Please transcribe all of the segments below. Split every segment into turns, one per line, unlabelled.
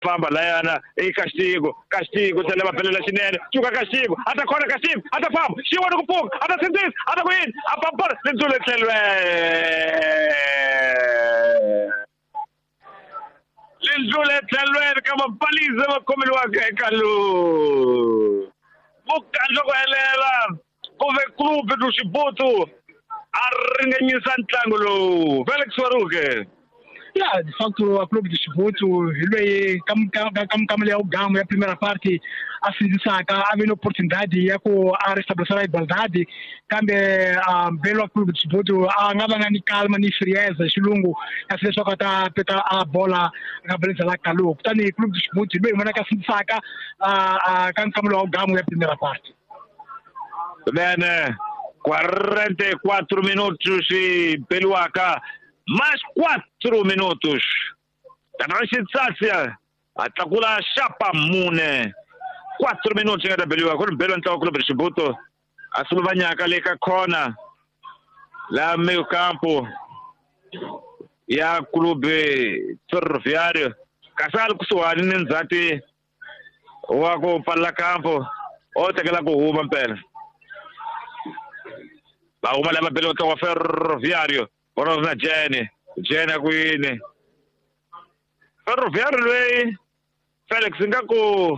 Famba layana i Castigo, Castigo se leva pela xinene, cuka Castigo, a ta khona Castigo, a ta famba, xi vona ku pfuka, a ta sindzisa, a ta ku yini, a pampara lindzule tlhelweni. Lindzule tlhelweni ka mapalisa va khomeliwaka eka lowu. Mukhandlu ku helela ku ve Clube do Chibuto a ringanyisa ntlangu lowu. Felix Waruke.
Ya, de facto a Clube do Chibuto hi loyi ka ya ugamu ya primeira parte a sindzisaka a ve ni opportunidade ya ku a restabelecer a igualdade, kambe mbelo wa Clube do Chibuto a nga va nga ni calma ni frieza hi xilungu kasi leswaku a ta peta a bola nga beleza la Kalu. Kutani Clube do Chibuto hi loyi hi vonaka a sindzisaka ka nkamulo wa ugamu ya primeira parte.
Bene, 44 minutos e beliwaka mais 4 minutos. Tatana Xitsatsia a tlakula xapa mune. 4 minutos nga ta beliwa ku ri beliwa ntlawa Clube do Chibuto a suluvanyaka le ka corner la meio campo ya Clube Ferroviário kasi a ri kusuhani ni ndzhati wa ku pfalela campo o tekela ku huma mpela. Va huma lava beliwa ntlawa wa Ferroviário vona na Jene, Jene a ku yini Ferroviário loyi Felix nga ku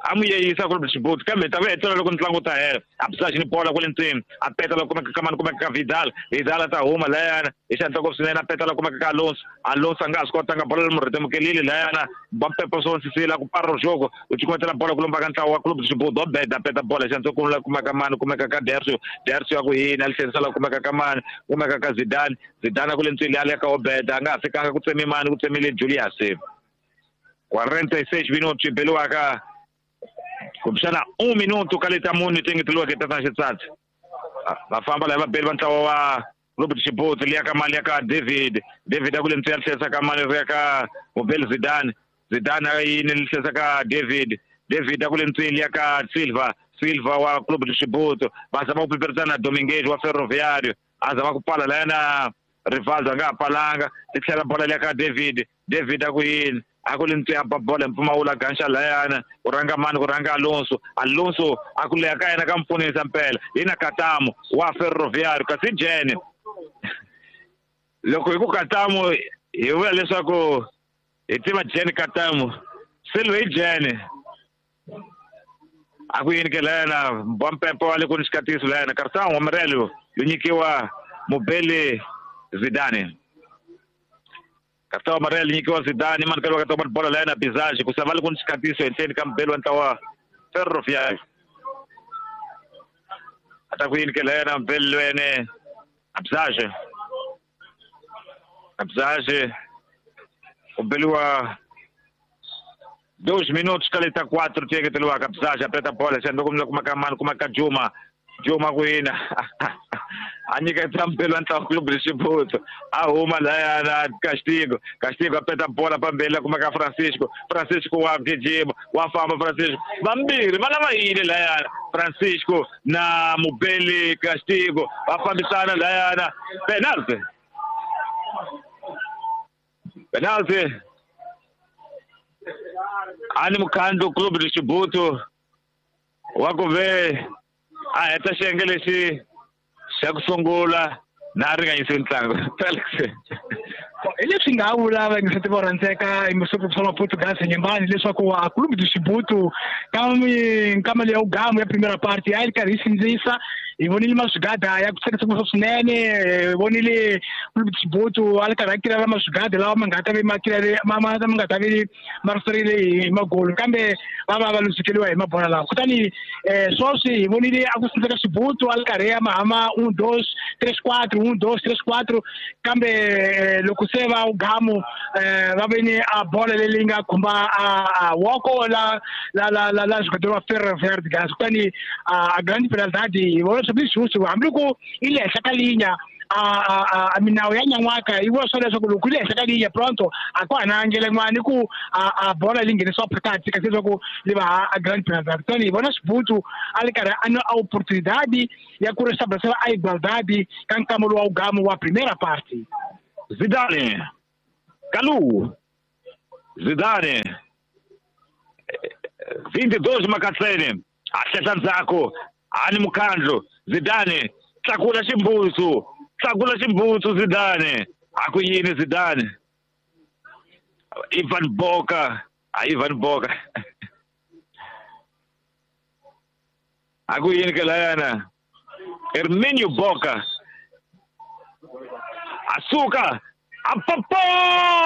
a mu yeyisa Clube do Chibuto kambe ta va hetelela loko ntlangu wu ta hela. A bisa ni bola kwale ndzeni, a peta la kumeka ka mani, kumeka ka Vidal, Vidal a ta huma layana hi xihatla ngopfu swinene, a peta la kumeka ka Alonso, Alonso a nga ha swi kotanga bola leri murhetemukelile layana ba Pepo Sonsisila ku parra jogo u cukumetela bola ku lomba ka ntlawa wa Clube do Chibuto Obeda a peta bola hi xihatla ku la kumeka mani, kumeka ka Dercio, Dercio a ku yini a li tlherisela kumeka ka mani, kumeka ka Zidane, Zidane a ku le ntswini a le ka Obeda a nga ha fikanga ku tsemi mani, ku tsemile Julius. 46 minutos beliwaka kumbexana 1 minuto ka leta mune ti engeteriweke tatana Xitsatsi. Va famba lava beli va ntlawa wa Clube do Chibuto liya ka mali ya ka David, David a ku le ntswi ya tlherisa ka mali ri ya ka Mubeli Zidane, Zidane a yini li tlherisa ka David, David a ku le ntswini liya ka Silva, Silva wa Clube do Chibuto va zama ku piperisana na Dominguez wa Ferroviário a zama ku pfala layana Rivaldo a nga ha pfalanga ti tlhela bola liya ka David, David a ku yini a ku le ntswi a ba bola hi mpfumawulo a ganxa layana ku rhanga mani, ku rhanga Alonso, Alonso a ku leha ka yena ka mpfunisa mpela hi na Katamo wa Ferroviário kasi Jene loko hi ku Katamo hi vula leswaku hi tiva Jene Katamo Silva hi Jene a ku yini ke layana ba Mpepo wa le ku ni xikatiso layana Cartão amarelo yo nyikiwa Mubeli Zidane. Cartão amarelo nyikiwa Zidane mani ka ka bola layana Bizage ku sava le ku ni xikatiso henhleni ka Mubeli wa ntlawa Ferroviário. A ta ku yini ke layana Mubeli lwene Bizage, Bizage u beliwa 2 minutos ka leta 4 ti engeteriwaka. Bizage a peta bola xandla kumbe kuma ka mani, kuma ka Juma, Juma ku yini a nyiketa Mbeli wa ntlawa Clube do Chibuto a huma layana Castigo, Castigo a peta bola pambeni la kuma ka Francisco, Francisco wa gijima wa famba Francisco vambirhi va lava yini layana Francisco na Mubeli Castigo va fambisana layana penalty, penalty ani mukhandlu Clube do Chibuto wa ku ve a heta xiyenge lexi xa ku sungula na ringanyise ntlangu. Felix
hi leswi nga vula va nge tiva rhandzeka hi masuku swa Portugal Nyembani leswaku a Clube do Chibuto ka nkama leya ugamu ya primeira parte a yi karhi yi sindzisa. Hi vonile maswigada ya ku tsakisa swinene, hi vonile Clube do Chibuto a ri karhi a kirela maswigada lawa ma nga ta ve ma kirele ma ma nga ta ve ma riserile hi magolo, kambe va va va luzekeriwa hi mabola lawa. Kutani sweswi hi vonile a ku sindzeka Chibuto a ri karhi ya mahama 1 2 3 4 1 2 3 4, kambe loko se va ugamu va ve ni a bola leyi nga khumba a woko la la la la la jogador wa Ferroviário de Gaza. Kutani a grande penalidade hi vona leswaku lexi hambi loko i le henhla ka linya a minawu ya nyan'waka yi vula swona leswaku loko yi le henhla ka linya pronto a ku hana ndlela yin'wana ku a bola leyi nghenisiwa phakathi kasi leswaku li va a grande penalidade. Kutani hi vona Chibuto a ri karhi a na oportunidade ya ku restabelecer a igualdade ka nkama lowu wa ugamu wa primeira parte.
Zidane Kalu Zidane 22 Makatseni a hlehla ndzhaku ani mukhandlu Zidane tlakula ximbutsu tlakula ximbutsu Zidane a ku yini Zidane Ivan Boka a Ivan Boka a ku yini ke layana Herminio Boka a suka a papola.